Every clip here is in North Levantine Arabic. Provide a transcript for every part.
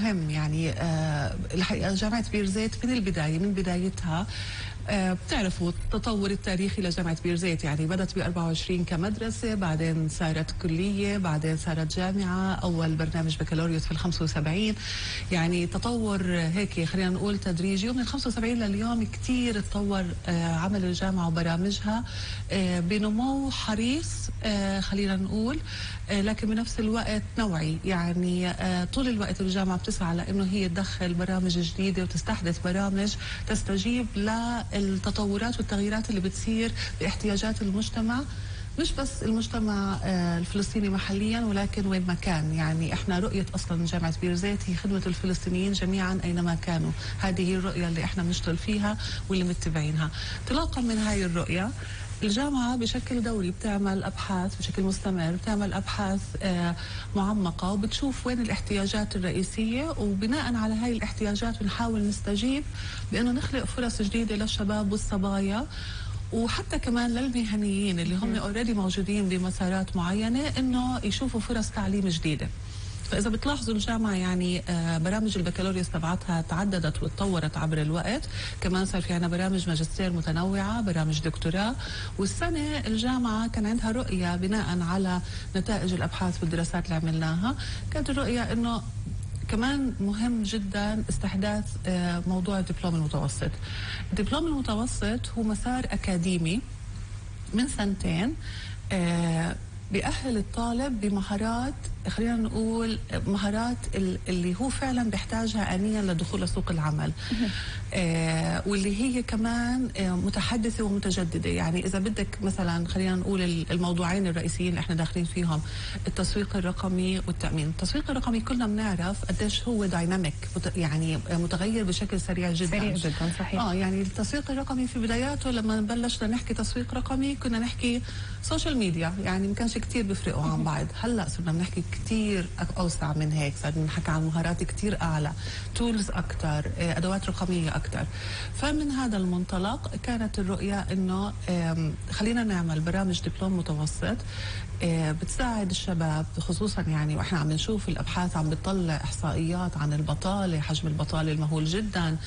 مهم يعني الحقيقة جامعة بيرزيت من البداية من بدايتها بتعرفوا التطور التاريخي لجامعة بيرزيت، يعني بدت ب 24 كمدرسة، بعدين صارت كلية، بعدين صارت جامعة، أول برنامج بكالوريوس في ال 75. يعني تطور هيك خلينا نقول تدريجي، ومن 75 لليوم كتير تطور عمل الجامعة وبرامجها بنمو حريص خلينا نقول، لكن بنفس الوقت نوعي. يعني طول الوقت الجامعة بتسعى لأنه هي تدخل برامج جديدة وتستحدث برامج تستجيب للتطورات والتغييرات اللي بتصير باحتياجات المجتمع، مش بس المجتمع الفلسطيني محليا ولكن وين ما كان. يعني احنا رؤية اصلا جامعة بيرزيت هي خدمة الفلسطينيين جميعا اينما كانوا، هذه هي الرؤية اللي احنا بنشتغل فيها واللي متبعينها. انطلاقا من هاي الرؤية الجامعة بشكل دوري بتعمل أبحاث بشكل مستمر، بتعمل أبحاث معمقة وبتشوف وين الاحتياجات الرئيسية، وبناء على هاي الاحتياجات بنحاول نستجيب بأنه نخلق فرص جديدة للشباب والصبايا، وحتى كمان للمهنيين اللي هم اوريدي موجودين بمسارات معينة انه يشوفوا فرص تعليم جديدة. فإذا بتلاحظوا الجامعة يعني برامج البكالوريوس تبعتها تعددت وتطورت عبر الوقت، كمان صار في عنا برامج ماجستير متنوعة، برامج دكتوراه. والسنة الجامعة كان عندها رؤية بناء على نتائج الأبحاث والدراسات اللي عملناها، كانت الرؤية إنه كمان مهم جدا استحداث موضوع الدبلوم المتوسط. الدبلوم المتوسط هو مسار أكاديمي من 2 سنين بيأهل الطالب بمهارات خلينا نقول مهارات اللي هو فعلا بيحتاجها آنيا لدخول سوق العمل، واللي هي كمان متحدثة ومتجددة. يعني إذا بدك مثلا خلينا نقول الموضوعين الرئيسيين اللي احنا داخلين فيهم، التسويق الرقمي والتأمين. التسويق الرقمي كلنا بنعرف قديش هو دايناميك، يعني متغير بشكل سريع جدا. سريع جدا صحيح. يعني التسويق الرقمي في بداياته لما بلشنا نحكي تسويق رقمي كنا نحكي سوشيال ميديا، يعني ما كانش كتير بيفرقوا عن بعض. هلا صرنا بنحكي كتير اوسع من هيك، صار بنحكي عن مهارات كتير اعلى، تولز اكثر، ادوات رقميه اكثر. فمن هذا المنطلق كانت الرؤيه انه خلينا نعمل برامج دبلوم متوسط بتساعد الشباب، خصوصا يعني واحنا عم نشوف الابحاث عم بتطلع احصائيات عن البطاله، حجم البطاله المهول جدا،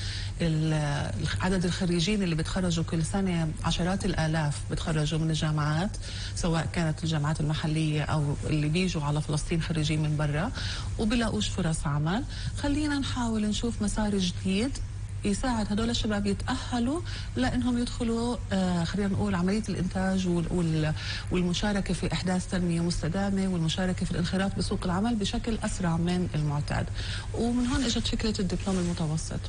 عدد الخريجين اللي بتخرجوا كل سنه عشرات الالاف بتخرجوا من الجامعات، سواء كانت الجامعات المحليه او اللي بيجوا على فلسطين خريجين من برا وبلاقوش فرص عمل. خلينا نحاول نشوف مسار جديد يساعد هدول الشباب يتأهلوا لأنهم يدخلوا خلينا نقول عملية الإنتاج والمشاركة في إحداث تنمية مستدامة والمشاركة في الانخراط بسوق العمل بشكل أسرع من المعتاد. ومن هون إجت فكرة الدبلوم المتوسط.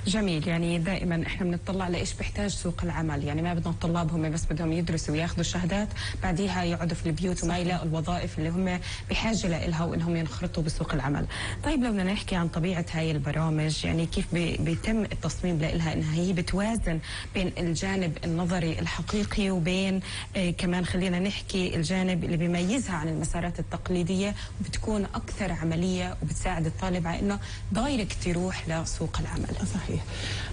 جميل. يعني دائما احنا بنطلع لايش بيحتاج سوق العمل، يعني ما بدنا الطلاب هم بس بدهم يدرسوا وياخذوا الشهادات بعديها يقعدوا في البيوت وما يلاقوا الوظائف اللي هم بحاجه لها وانهم ينخرطوا بسوق العمل. طيب لو بدنا نحكي عن طبيعه هاي البرامج، يعني كيف بيتم التصميم لها انها هي بتوازن بين الجانب النظري الحقيقي وبين كمان خلينا نحكي الجانب اللي بيميزها عن المسارات التقليديه وبتكون اكثر عمليه وبتساعد الطالب على انه دايركت يروح لسوق العمل. صحيح.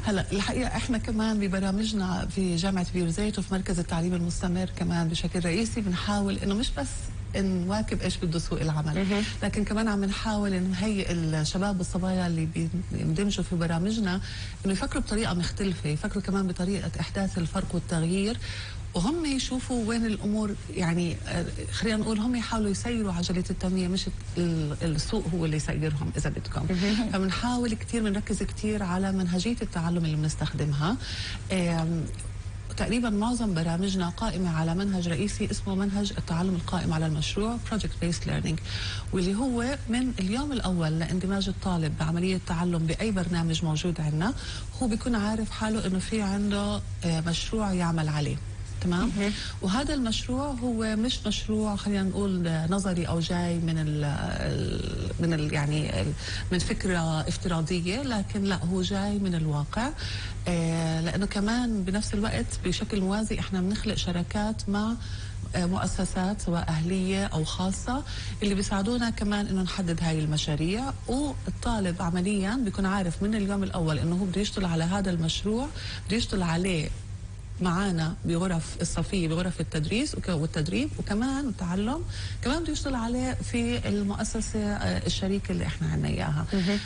هلا الحقيقه احنا كمان ببرامجنا في جامعه بيرزيت وفي مركز التعليم المستمر كمان بشكل رئيسي بنحاول انه مش بس نواكب ايش بده سوق العمل، لكن كمان عم نحاول نهيئ الشباب والصبايا اللي بيندمجوا في برامجنا انه يفكروا بطريقه مختلفه، يفكروا كمان بطريقه احداث الفرق والتغيير، وهم يشوفوا وين الامور. يعني خلينا نقول هم يحاولوا يسيروا عجله التنميه، مش السوق هو اللي يسيرهم اذا بدكم. فبنحاول كثير، بنركز كثير على منهجيه التعلم اللي بنستخدمها. تقريبا معظم برامجنا قائمة على منهج رئيسي اسمه منهج التعلم القائم على المشروع Project Based Learning، واللي هو من اليوم الأول لاندماج الطالب بعملية التعلم بأي برنامج موجود عندنا هو بيكون عارف حاله إنه في عنده مشروع يعمل عليه. تمام. وهذا المشروع هو مش مشروع خلينا نقول نظري او جاي من يعني من فكره افتراضيه، لكن لا، هو جاي من الواقع. لانه كمان بنفس الوقت بشكل موازي احنا بنخلق شراكات مع مؤسسات سواء أهلية أو خاصة اللي بيساعدونا كمان إنه نحدد هاي المشاريع، والطالب عمليا بيكون عارف من اليوم الأول إنه هو بده يشتغل على هذا المشروع، بده يشتغل عليه معانا بغرف الصفية، بغرف التدريس والتدريب وكمان التعلم، كمان بده يشتغل عليه في المؤسسة الشريكة اللي احنا عنا إياها.